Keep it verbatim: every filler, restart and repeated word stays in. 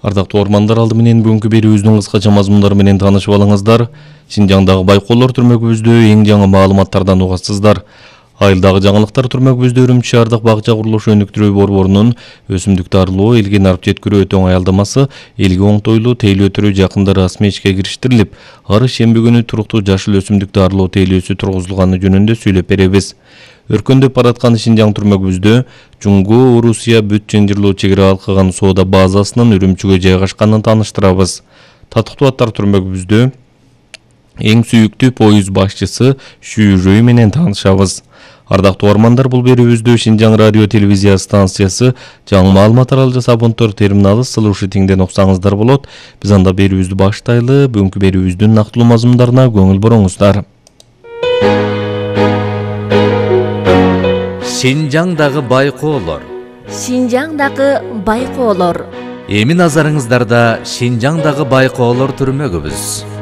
Ардактуу ормандар, алды менен бүгүнкү берүүбүздүн кыскача мазмундары менен таанышып алыңыздар. Шинжаңдагы байкоолор түрмөгүбүздө эң жаңы маалыматтардан угасыздар. Айылдагы жаңылыктар түрмөгүбүздө Үрүмчү шаардык багча курулушу өнүктүрүү борборунун өсүмдүктү арылоо, элге нарп жеткирүү өтө оңой алдамасы элге оңтойлуу тейлөө өтүрүү жакында расмий ишке кириштирилип, ар шемби күнү туруктуу жашыл өсүмдүктү арылоо тейлөөсү тургузулганы жөнүндө сүйлөп беребиз. Өркөндөп бараткан Шинжаң түрмөгүбүздө Жуңгу Орусия бүт ченжирлөө чегара алкаган соода базасынын Үрүмчүгө жайгашканын тааныштырабыз. Татыктуу аттар түрмөгүбүздө эң сүйүктүү поезд башчысы Шүйрөй менен таанышабыз. Ардактуу ормандар, бул берүүбүздө Шинжаң радио телевизия станциясы жаңы маалымат аралжа абонттор терминалы слушатиңден уксаңыздар болот. Биз анда берүүбүздү баштайлы. Бүгүнкү берүүбүздүн нактылуу мазмундарына көңүл буруңуздар. Шинжаңдагы байкоолор. Шинжаңдагы байкоолор. Эми назарыңыздарда Шинжаңдагы байкоолор түрмөгүбүз.